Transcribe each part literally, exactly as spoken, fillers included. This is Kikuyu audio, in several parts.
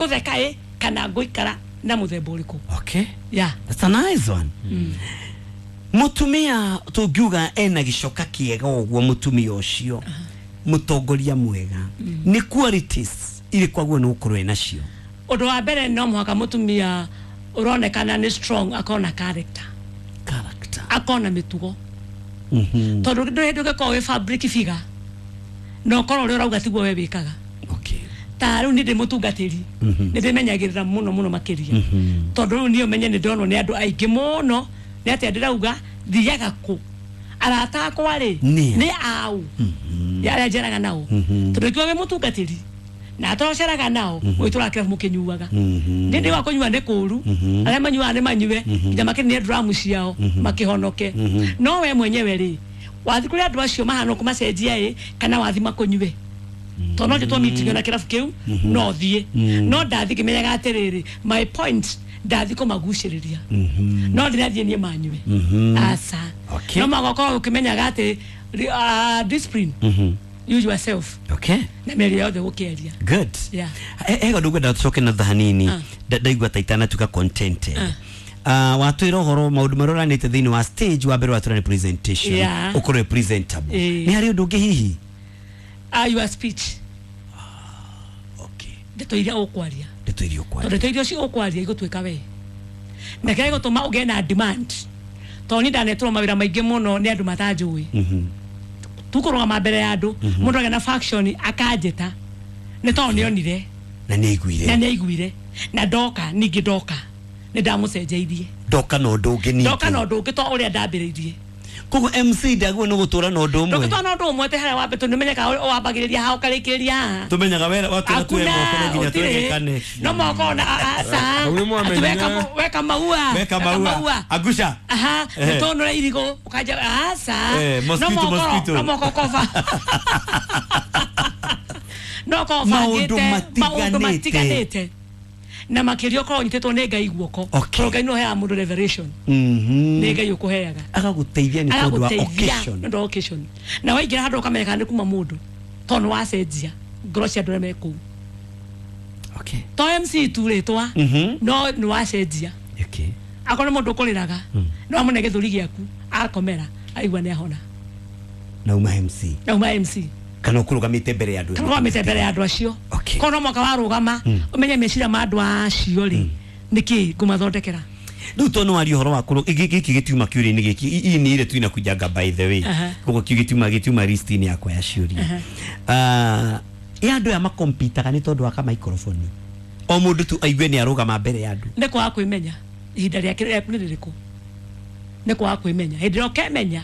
Ngũtheka ĩ kana ngũikara na mũthemba ũrĩkũ. Okay. Yeah. That's a nice one. Mutumia tungiuga ena gicoka kiega ũguo, mutumia ũcio mutongoria mwega, nĩ qualities irĩkũ aguo nĩ gũkorwo ena cio? Ũndũ wa mbere, no mũhaka mũtumia ũronekana nĩ strong akorwo na character. Character. Akorwo na mĩtugo. Mhm. Tondũ ndũrĩ hĩndĩ ũngĩkorwo wĩ fabric figure na ũkorwo ũrĩa ũrauga tiguo we wĩkaga. Okay. Ta rĩu niĩ ndĩ mũtungatĩri, nĩ ndĩmenyagĩrĩra mũno mũno makĩria, tondũ rĩu niĩ ũmenye nĩ ndonwo nĩ andũ aingĩ mũno. Nĩ atĩa ndĩrauga? Thiaga kũ? Arata akwa rĩ, Nĩ a? Nĩ au arĩa njeraga nao? Tondũ ikiwa wĩ mũtungatĩri na atoceraga nao, gwĩtũra kĩrabu mũkĩnyuaga, nĩ ndĩ wa kũnyua nĩ kũũru. Arĩa manyuaga nĩ manyue nginya makĩrĩ dramu ciao makĩhonoke. No we mwenyewe rĩ, wathi kũrĩ andũ acio mahana kũmacenjia ĩ, kana wathi makũnyue? Tondũ no njĩtwo meeting na kĩrabu kĩu, no thiĩ, no ndathi ngĩmenyaga atĩrĩrĩ, my point, ndathi kũmagucĩrĩria, no ndĩrathiĩ niĩ manyue, aca. Okay. No magakorwo ũkĩmenyaga atĩ uh, discipline you yourself Okay. na mĩario yothe gũkĩaria. Good. Yeah. He kaũndũ ngwenda tũcoke na thutha hanini. Ah. Nda- ndaigua ta itanatuĩka contented. Ah, watwĩra ũhoro maũndũ marĩa ũranĩte thĩinĩ wa stage. Wa mbere watwĩra nĩ presentation, Yeah. ũkorwo wĩ presentable. Ĩĩ. Nĩ harĩ ũndũ ũngĩ hihi? uh, your speech. Okay. Ndeto iria ũkwaria. Ndeto iria Tondũ ũkwaria. ndeto iria ũcio ũkwaria igũtuĩka we na kĩrĩa gĩgũtũma ũgĩe na demand, tondũ niĩ ndanetũrwo mawĩra maingĩ mũno nĩ andũ matanjũĩ. Tukũrũgama mbere ya andũ, mũndũ agĩa na faction akanjĩta nĩ tondũ nĩonire na nĩ aiguire. Na nĩ aiguire na ndoka. Ningĩ ndoka nĩ ndamũcenjeirie. Ndoka na ũndũ ũngĩ ningĩ. Ndoka na ũndũ ũngĩ to ũrĩa ndambĩrĩirie. Koguo M C ndagwo nĩ gũtũra na ũndũ ũmwe. Ndũngĩtwa na ũndũ ũmwe atĩ harĩa wambe, tondũ nĩmenyekaga wambagĩrĩria haha ũkarĩkĩrĩria haha. Tumenyaga wera watwĩra tuwe moko no nginya twegekane. No moko na aca. Hau nĩ mwamenyire. Ati weka weka maua. Weka maua agusha. Aha. Eh. Nĩtũnũre irigũ ũkanja aca. Eh, mosquito, no moko mosquito. No moko kova no ko Maũndũ bangĩte maũndũ matiganĩte. Matiganĩte na makĩria ũkorwo ũnyitĩtwo nĩ Ngai guoko. Okay. Tondũ Ngai nĩwe ũheaga mũndũ revelation. Mhm. Nĩ Ngai ũkũheaga. Agagũteithia nĩ tondũ wa Agagũteithia occasion. nĩ ũndũ wa occasion, na waingĩra handũ ũkamenyeka nĩ kuma mũndũ, tondũ nĩ wacenjia ngoro cia andũ arĩa me kũu. Okay. To M C tu rĩtwa, Mhm. no nĩ wacenjia. Okay. Akorwo nĩ mũndũ ũkũrĩraga, no amũne gĩthũri gĩaku akomera aigua nĩ ahona. Na uma M C. Na uma M C. Kana ũkũrũgamĩte mbere ya andũ. Kana ũrũgamĩte mbere ya andũ acio. Okay. Korwo no mwaka warũgama ũmenye meciria ma andũ acio rĩ, nĩkĩ ngũmathondekera. Rĩu to nĩ waria ũhoro wa kũrũ gĩkĩ gĩtiuma kĩũria-inĩ gĩkĩ ii nĩ ire tuina kujanga, by the way. Aha. Koguo kĩu gĩtiuma gĩtiuma list-inĩ yakwa ya ciũria. Ah, ĩ andũ aya makompitaga nĩ tondũ wa ka microphone, o mũndũ tu aigue nĩ arũgama mbere ya andũ. Nĩ kwaga kwĩmenya ihinda rĩake rĩaku nĩ rĩrĩkũ. Nĩ kwaga kwĩmenya. Hĩndĩ ĩrĩa ũkemenya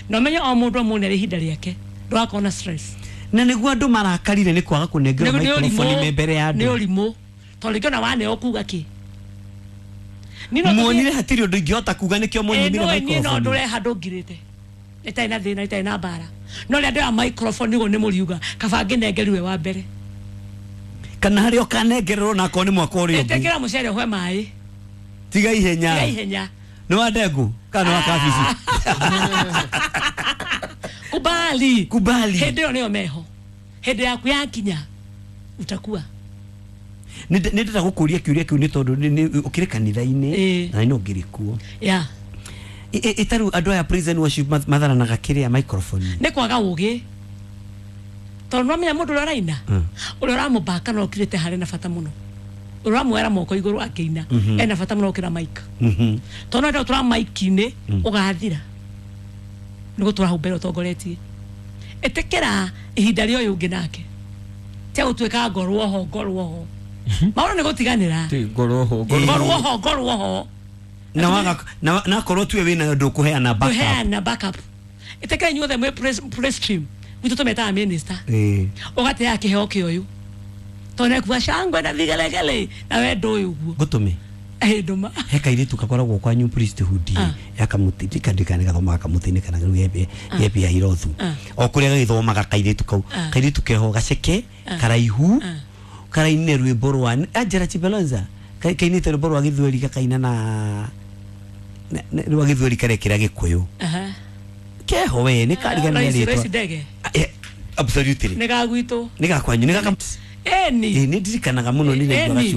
na ũmenye o mũndũ o mũndũ arĩ ihinda rĩake, ndũgakorwo na stress. Na nĩguo andũ marakarire nĩ kwaga kũnengerwo Nĩ- nĩ microphone ũrimũ- me mbere ya nĩ andũ. ũrimũ, tondũ rĩngĩ ona waneo kuga kĩ. Niĩ no tũthiĩ- Muonire hatirĩ ũndũ ingĩhota kuga, nĩkĩo Ĩ, mũnyimire nĩũĩ niĩ no microphone. ndũre handũ ngirĩte ĩtarĩ na thĩna, ĩtarĩ na mbara, no rĩrĩa ndoya microphone nĩguo nĩ mũriuga kaba ngĩnengerirwe wa mbere. Kana harĩa ũkanengererwo na akorwo nĩ mwaka ũrĩa ũngĩ. Ĩtĩkĩra mũcere ũhwe maĩ. Tiga ihenya. Tiga ihenya. Nĩ wa ndengũ kana nĩ wa kabici? Kubali. Kubali. Hĩndĩ ĩyo nĩyo meho, hĩndĩ yaku yakinya utakuwa. Nĩ ndĩrenda gũkũria kĩũria kĩu nĩ tondũ nĩ- nĩ- ũkĩrĩ kanitha-inĩ Ĩ. na no ngĩrĩ kuo. Ya. Ĩtarĩu andũ aya praise and worship math- matharanaga kĩrĩa microphone. Nĩ kwaga ũgĩ, tondũ nĩwamenya mũndũ ũrĩa ũraina, Mm. ũrĩa ũramũbaka no ũkirĩte harĩ na bata mũno, ũrĩa ũramuoera moko igũrũ akĩina ena bata mũno gũkĩra mic. Mhm. Tondũ no enda gũtũra mic-inĩ ũgathira nĩ gũtũra hau mbere ũtongoretie. Ĩtĩkĩra ihinda rĩa ũyũ ũngĩ nake tia gũtuĩka ngorwo ho, ngorwo ho, maũndũ nĩ gũtiganĩra. Ti ngorwo ho, ngorwo. Ngorwo ho, ngorwo ho. Na waga na na akorwo tuwe wĩna ũndũ ũkũheana backup. Kũheana backup. Ĩtĩkĩra inyuothe mwĩ praise- praise team gwitũ tũmetaga minister. Ĩĩ. Ũgateaga kĩheo kĩa ũyũ tondũ nĩkuga shangwe na vigelegele na we ndũĩ ũguo. Ngũtũme. Ĩ, ndũma. He kairĩtu gakoragwo kwanyu priesthood Ah. ya kamuti, ndikandikane gathomaga kamũtĩ-inĩ kana rĩu gebe gebe ya irothu. Ah. O kũrĩa gagĩthomaga kairĩtu kau. Ah. Kairĩtu keho gaceke Ah. karaihu Ah. karaine rwĩmbo rwa Angela Chibalonza. Ka- kainĩte rwĩmbo rwa gĩthweri, gakaina na na- na- rwa gĩthweri karekĩra gĩkũyũ. Aha. Keho we nĩ karigania Royce- rĩtwa. Royce Ndege. Ah, eh, absolutely. Nĩ ga gwitũ. Nĩ gakwanyu, nĩ gaka. Eni. Ĩ, nĩ ndirikanaga mũno nĩ ndaiguaga Ĩni. ciugo.